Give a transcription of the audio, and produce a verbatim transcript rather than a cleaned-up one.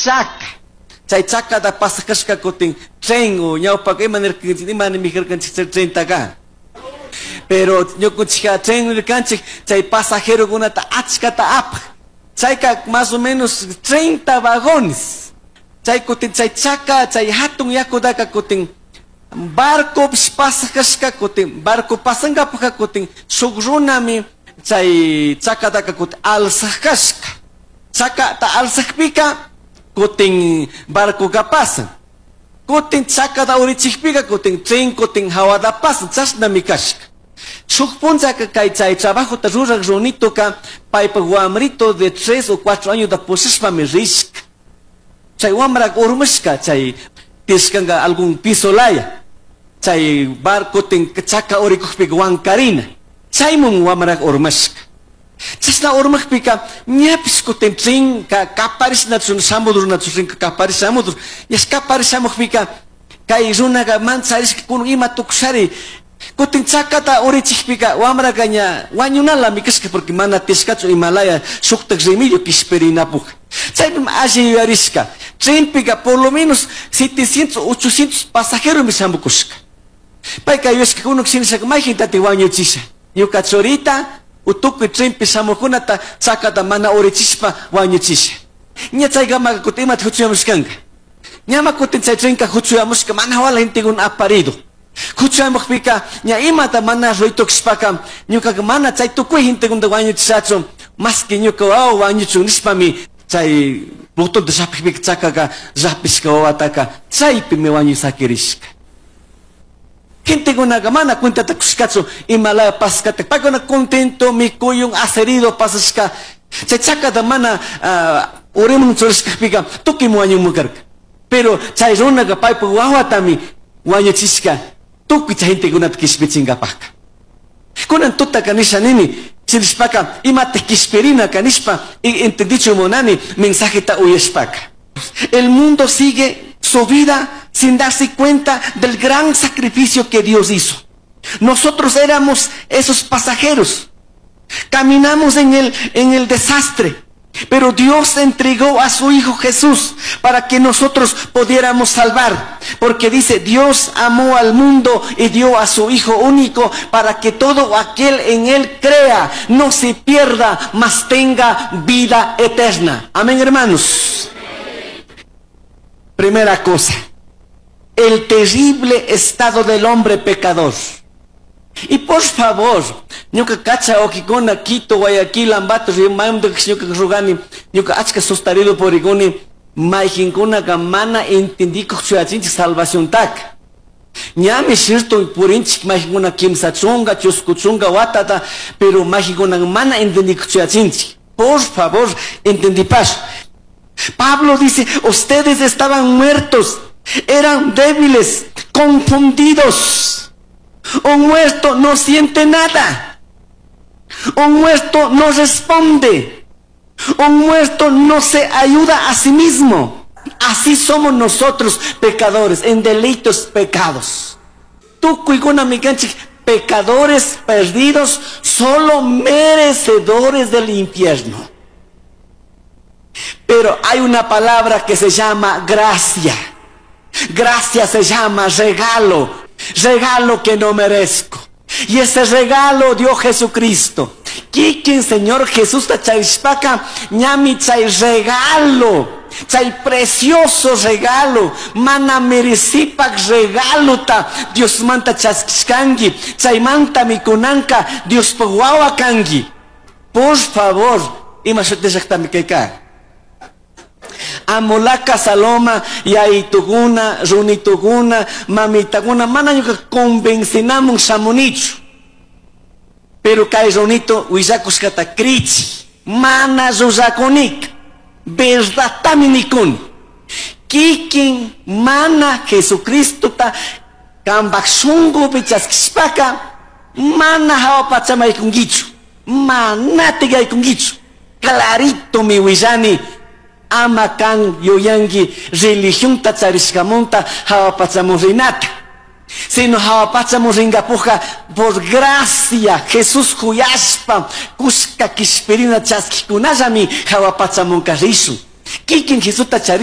Chaka. Chay chakata pasakashka kutin tren o ñawpaka ima nirkanchik, ima nimijarkanchik chay trentaka. Pero ñukunchikka tren nirkanchik chay pasajerokunata achkata apaj. Chayka más o menos treinta vagones. Chay kutin chay chaka, chay hatun yakutaka kutin barco pasakashka kutin, barco pasankapaka kutin shuk runami chay chakataka kutin alzakashka. Chakata alzakpika kutin barcoka pasan. Kutin chakata urichikpika kutin tren kutin hawata pasan, chashnami kashka. Shuk punchaka kay chay trabajota ruraj runituka paypak wamrito de tres o cuatro años da pushashpami rishka. Chay wamrak urmashka chay tishkanka algún piso laya. Chay barco kutin chaka urikukpika wankarina. Chaymun wamrak urmashka. Chashna urmakpika ñapish kutin trenka kaparishnachu shamudur nachu trenka kaparish shamudur. Ñash kaparish shamukpika kay runaka mancharishka kunun ima tukushari. Kutin chakata urichikpika wamraka ña wañunalami kashka porque mana tishkachu imalaya shuktak remedio kishpirinapuk. Chaypimi alli yuyarishka. Trenpika por lo menos setecientos, ochocientos pasajeros shamukushka. Payka yuyashka kunuk shinashaka mayjintati wañuchisha. Ñuka churita utukuy trenpi shamukunata chakata mana urichishpa wañuchisha. Ña chaykamaka kutin imata huchuyamushkanka. Ñama kutin chay trenka huchuyamushka mana wala gentekuna aparido. Huchuyamukpika ña imata mana ruitukushpaka ñukaka mana chay tukuy gentekunata wañuchishachu maski ñuka wawa wañuchun nishpami chay botonta llapikpika chakaka llapishka wawataka chaypimi wañusakirishka. Gentekunaka mana cuentata kushkachu imalaya paskata. Paykuna contento mikuyun acerido pasashka. Chay chakata mana, ah, urimun churashkapika tukuy wañunmu karka. Pero chay runaka paypak wawatami wañuchishka tukuy chay gentekunata kishpichinkapaka. Kunan tutaka nisha nini, chirishpaka imata kishpirina kanishpa entendicho munani mensajeta uyashpaka. El mundo sigue su vida sin darse cuenta del gran sacrificio que Dios hizo. Nosotros éramos esos pasajeros. Caminamos en el, en el desastre. Pero Dios entregó a su Hijo Jesús para que nosotros pudiéramos salvar. Porque dice, Dios amó al mundo y dio a su Hijo único para que todo aquel en él crea, no se pierda, mas tenga vida eterna. Amén, hermanos. Primera cosa, el terrible estado del hombre pecador. Y por favor, ñuka kacha okikuna, Quito, Guayaquil, Ambato, Rimamdo, ñuka rugani, ñuka achka sustarido poriguni, mayjinkuna mana entendiko chuyachinchik salvación tak. Ñami shirto purinchik mayjinkuna kimsa chunga, chusku chunga watata, pero mayjinkuna mana entendiko chuyachinchik. Por favor, entendipash. Pablo dice, ustedes estaban muertos, eran débiles, confundidos. Un muerto no siente nada. Un muerto no responde. Un muerto no se ayuda a sí mismo. Así somos nosotros, pecadores, en delitos pecados. Tukuykuna mikanchik, pecadores perdidos, solo merecedores del infierno. Pero hay una palabra que se llama gracia. Gracia se llama regalo. Regalo que no merezco. Y ese regalo dio Jesucristo. Kikin Señor Jesús ta charishpaka, ñami chay regalo, chay precioso regalo, mana merecipak regalo ta Dios manta chaskishkangi, chay manta mikunanka Dios wawa kangi. Por favor, ima shuti llaktami kayka. Amolaka Saloma, yaituguna, runituguna, mamitaguna, mana ñuka convencinamun shamunichu. Pero kay runito willakushkata krichi, mana llullakunika, verdadtami nikuni. Kikin mana Jesucristota kambak shunkupi chaskishpaka, mana hawa pachaman yaykunkichu, mana yaykunkichu. Clarito mi willani, ama kan yuyanki religionta charishkamunta hawa pachamun rinata. Sino hawa pachamun rinkapuja por gracia Jesús kuyashpa kushka kishpirina chaskikunallami hawa pachamunka rishun. Kikin Jesusta charishpa